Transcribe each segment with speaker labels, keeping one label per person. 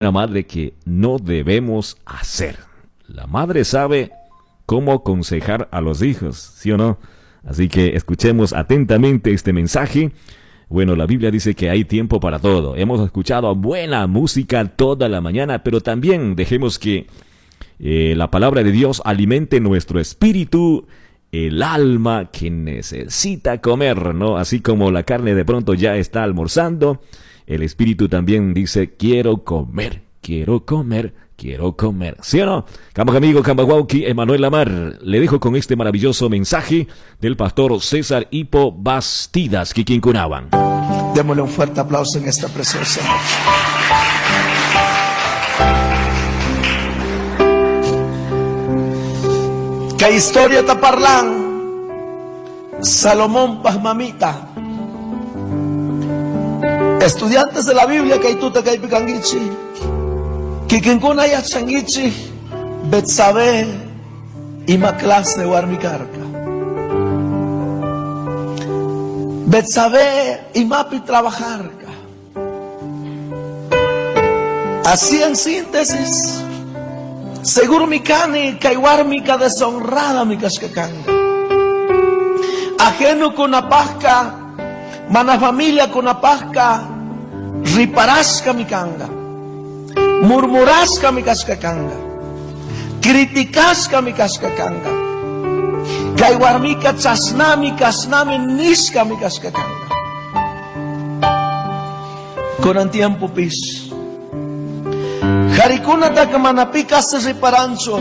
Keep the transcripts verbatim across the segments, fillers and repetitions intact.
Speaker 1: Madre que no debemos hacer. La madre sabe cómo aconsejar a los hijos, ¿sí o no? Así que escuchemos atentamente este mensaje. Bueno, la Biblia dice que hay tiempo para todo. Hemos escuchado buena música toda la mañana, pero también dejemos que eh, la palabra de Dios alimente nuestro espíritu, el alma que necesita comer, ¿no? Así como la carne de pronto ya está almorzando, el espíritu también dice, quiero comer, quiero comer, quiero comer. ¿Sí o no? Cambaj amigo, cambaj huauqui, Emanuel Lamar, le dejo con este maravilloso mensaje del pastor César Hipo Bastidas, kikinkunahuan.
Speaker 2: Démosle un fuerte aplauso en esta preciosa noche. ¿Qué historia te parlan? Salomón Pazmamita. Estudiantes de la Biblia que tú te caes picanguichi. Kikinkuna yachanguichi. Betsabé ima clase warmikarka. Betsabé imapi trabajarka. Así en síntesis. Seguro mi cani, kaiwarmika deshonrada mi cascacanga. Ajeno con la pasca, mana familia con la pasca, riparasca mi canga, murmurasca mi cascacanga, criticasca mi cascacanga, kaiwarmika chasnami casnami nisca mi cascacanga. Con el tiempo pis. Harikuna taka se riparancho.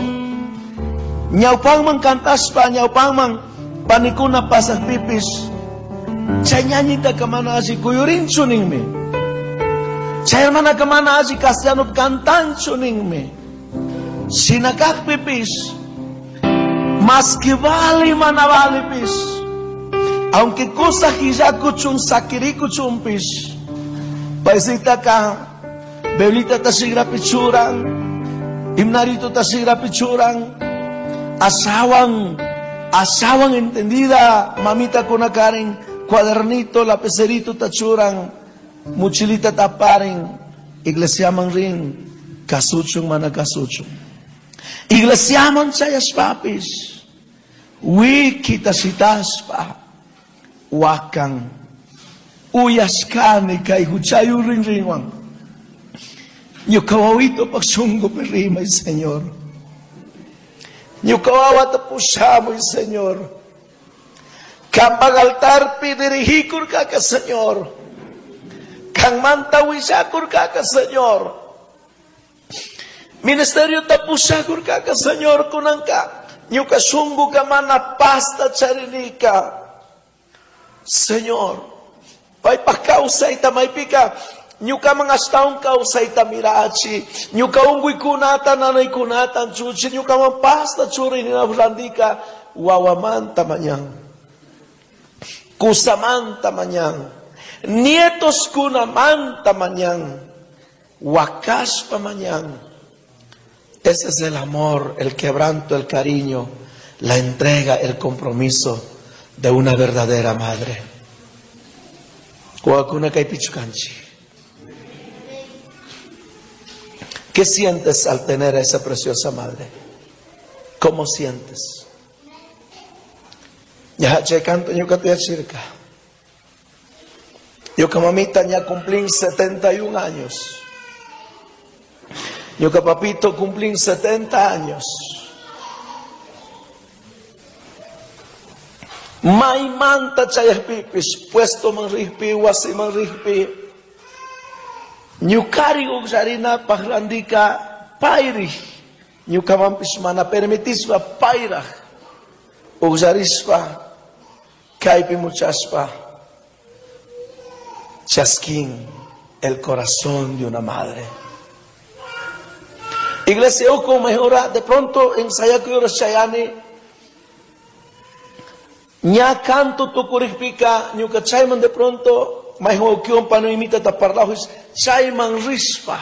Speaker 2: Ñawpanman cantaspa, ñawpanman panikuna pasas pipis. Chay ñañita kamana así kuyurinchu ninmi. Chay hermana kamana así castellano cantanchu ninmi. Sinakak pipis. Mas que vale mana vale pis. Aunque cosa hijakuchun sakirikuchun pis. Paisita ka Belita tasigra pichuran, himnarito tasigra pichuran, asawan, asawan entendida, mamita con akaren, cuadernito, lapicerito tachuran, mochilita taparen, iglesia man rin, kasuchun mana kasuchun. Iglesia man chayas papis, wiki tasitaspa, wakan, uyaskani kay huchayu rin rinwan. Ñuka wawito pak shungupi rimay, Señor. Ñuka wawata pushamuy, Señor. Kampaj altarpi dirigikurkaka, Señor. Kanmanta willakurkaka, Señor. Ministerio tapushakurkaka, Señor, kunanka. Ñuka shunguka mana pasta charinika. Señor, paypaj kawsayta maypika. Ñukaman ashtawan kawsayta mirachi, ñuka unkuykunata nanaykunata anchuchi, ñukaman pasta churi ninapaj wawamanta mañan, kusamanta mañan, nietos kunamanta mañan, wakashpa mañan. Ese es el amor, el quebranto, el cariño, la entrega, el compromiso de una verdadera madre. Wawakuna kaypichu kanchik. ¿Qué sientes al tener a esa preciosa madre? ¿Cómo sientes? Ya che canto ñuka tuyachirka. Ñuka mamita ya cumplí setenta y un años. Ñuka papito cumplí setenta años. Maymanta chayajpipis, puesto man rijpi, wasi man rijpi. Ñukari uqllarina pajrandika payri. Ñukamanpis mana permitispa payraj. Uqllarispa kaypi muchaspa chasquín el corazón de una madre. Iglesia uku mejora de pronto ensayakuyura chayani ña canto tukurikpika ñuka chayman de pronto mayhuan pano imita taparlahus chayman rispa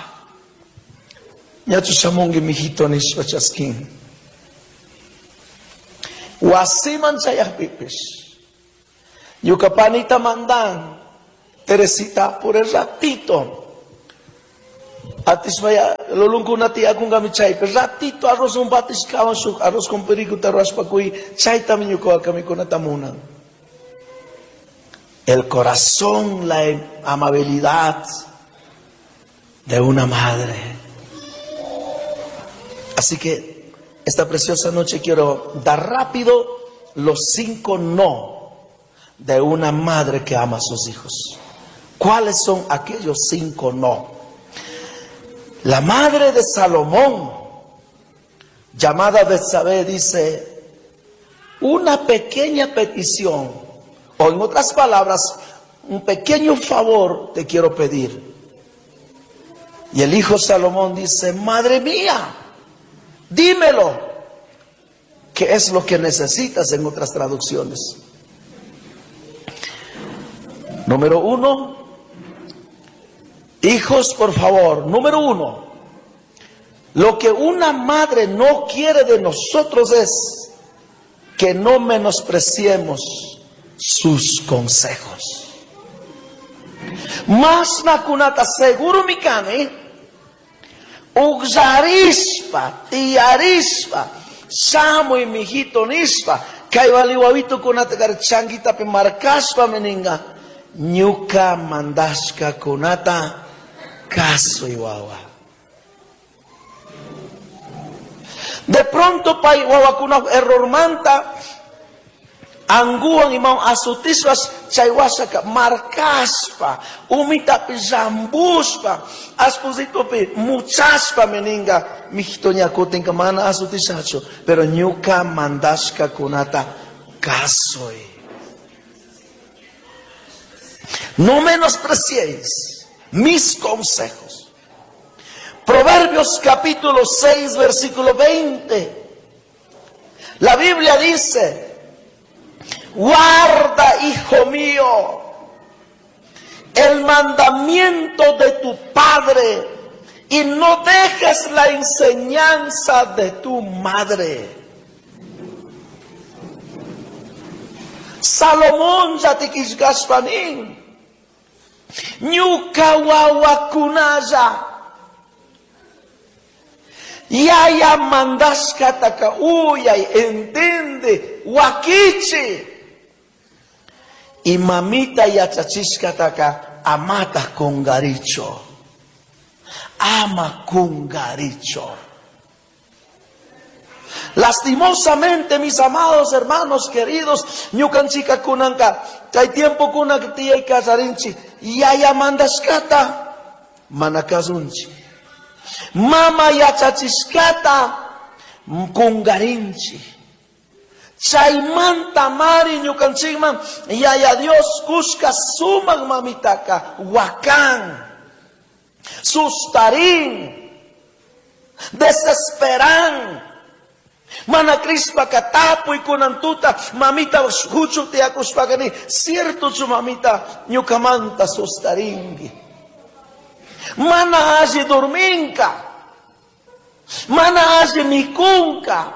Speaker 2: ñachu shamungi mijito nispa chasquín wasiman chayajpipis ñuka panita mandan Teresita por el ratito Atismaya lulunkuna tiyakunkami chaypi ratito arroz un batishkawan shuk arroz con pericuta rurashpa chaytami ñuka mikunata munan. El corazón, la amabilidad de una madre. Así que esta preciosa noche quiero dar rápido los cinco no de una madre que ama a sus hijos. ¿Cuáles son aquellos cinco no? La madre de Salomón, llamada Betsabé, dice una pequeña petición, o en otras palabras, un pequeño favor te quiero pedir. Y el hijo Salomón dice, madre mía, dímelo, ¿qué es lo que necesitas en otras traducciones? Número uno, hijos, por favor, número uno, lo que una madre no quiere de nosotros es que no menospreciemos sus consejos. Mas nakunata seguro mikani, ugzarispa, tiarispa, shamuy mijito nispa, kay waliwawito kunata kar changuitapi markaspa meninga, ñuka mandashka kunata kasuy wawa. De pronto pay wawakuna error manta, anguan imam asutiswas chaywasaka markaspa, umitapi zambuspa, aspusitopi muchaspa meninga, mijito ñakutinka mana asutisacho, pero ñuka mandashka kunata kasuy. No menospreciéis mis consejos. Proverbios capítulo seis, versículo veinte. La Biblia dice, guarda, hijo mío, el mandamiento de tu padre y no dejes la enseñanza de tu madre. Salomón yatikishkashpanin, ñuka wawakunalla, yaya mandashkataka uyay, entiende, wakichi. Y mamita yachachishkataka amata kungaricho. Ama kungaricho. Lastimosamente, mis amados hermanos queridos, ñukanchika kunanka, kay tiempo kunak tiyay kasarinchi, yaya mandashkata, manakasunchi. Mama yachachishkata, kungarinchi. Chaymanta mari ñukanchikman, yaya Dios kushka sumaq mamitaka, wakan, sustarin, desesperan. Mana krispa katapuy kunantuta, mamita huchu tiakushpakani, cierto chu mamita ñukamanta sustaringi. Mana alli durminka, mana alli mikunka.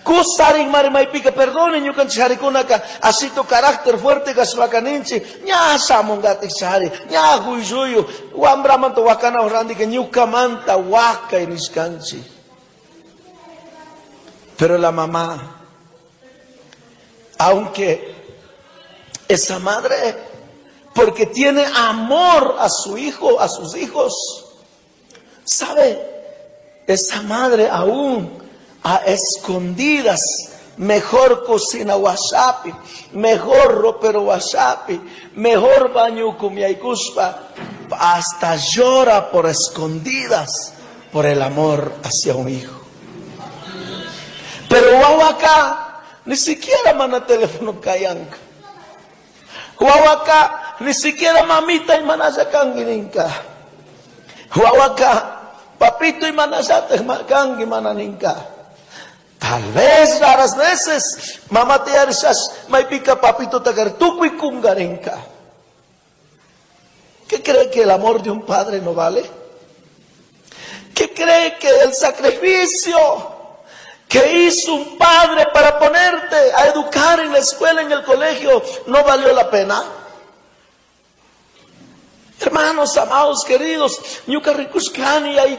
Speaker 2: Kusarin marimaypika, perdone ñukanchik harikunaka, asito carácter fuerte kashpakaninchik, ña shamungatik chari, ña huylluyu, wambramanta wakana randika ñukamanta wakay nishkanchik. Pero la mamá, aunque esa madre, porque tiene amor a su hijo, a sus hijos, ¿sabe? Esa madre aún a escondidas, mejor cocina wasapi, mejor ropero wasapi, mejor baño kumiaykuspa, hasta llora por escondidas por el amor hacia un hijo. Pero wawaka, ni siquiera mana teléfono kayanka. Wawaka, ni siquiera mamita y manayakangininka. Wawaka, papito y manayakangi mananinka. Tal vez raras veces, mamá te arisas, maipika papito takartukui kungarinka. ¿Qué cree que el amor de un padre no vale? ¿Qué cree que el sacrificio que hizo un padre para ponerte a educar en la escuela, en el colegio, no valió la pena? Hermanos amados, queridos, ñuca ricushcani